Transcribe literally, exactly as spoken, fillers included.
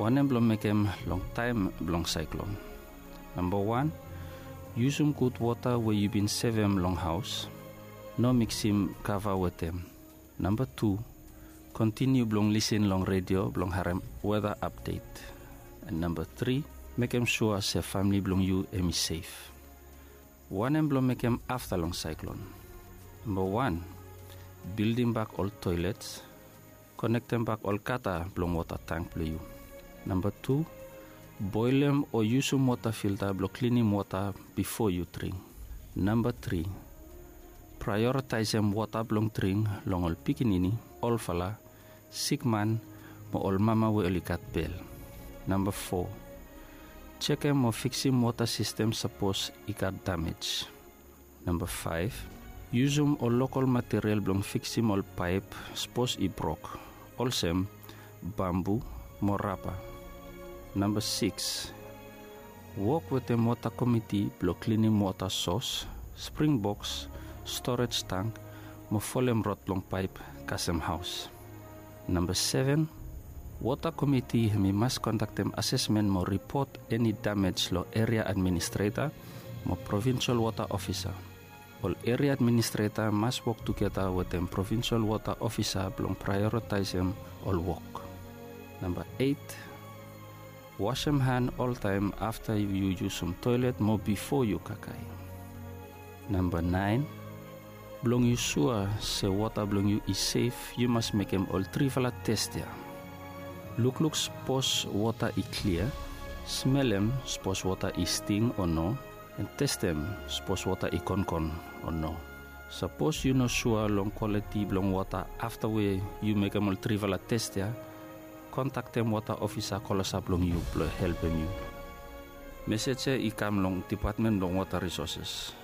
Wanem blong mekem long taem blong saeklon? Namba wan, yusum gud wota we yu bin sevem long haos. No miksim kava wetem. Namba tu, kontiniu blong lisin long redio blong harem weda apdet. Namba tri, mekem sua se famili blong yu hem i sef. Wanem blong mekem afta long saeklon? Namba wan, bildimbak ol toelets. Konektem bak ol gata blong wota tang blong yu. Namba tu, boelem o yusum wota filta blong klinim wota bifo yu dring. Namba tri, praeoritaesem wota blong dring long ol pikinini, olfala, sikman, mo ol mama we oli gat bel. Namba fo, jekem mo fiksim wota sistem sapos i gat damej. Namba faef, yusum ol lokol material blong fiksim ol paep sapos i brok, olsem bambu mo raba. Namba sikis, wok wetem wota komiti blong klinim wota sos, springboks, storej tang, mo folem rod blong paep kasem haos. Namba seven, wota komiti hem i mas kondaktem asesmen mo ripot eni damej long eria administreta mo provinsol wota ofisa. Ol eria administreta mas wok tugeta wetem provinsol wota ofisa blong praeoritaesem ol wok. Namba eit, wasem han oltaem afta yu yusum toelet mo bifo yu kakae. Namba naen, blong yu sua se wota blong yu i sef, yu mas mekem ol trifala tes ya. Lukluk sapos wota i klia, smelem sapos wota i sting o no, en testem sapos wota i konkon o no. Sapos yu no sua long kwaliti blong wota afta we yu mekem ol trifala tes ya, kondaktem wota ofisa klosap long yu blong helpem yu. Mesej ya i kam long Depatmen blong Wota Risoses.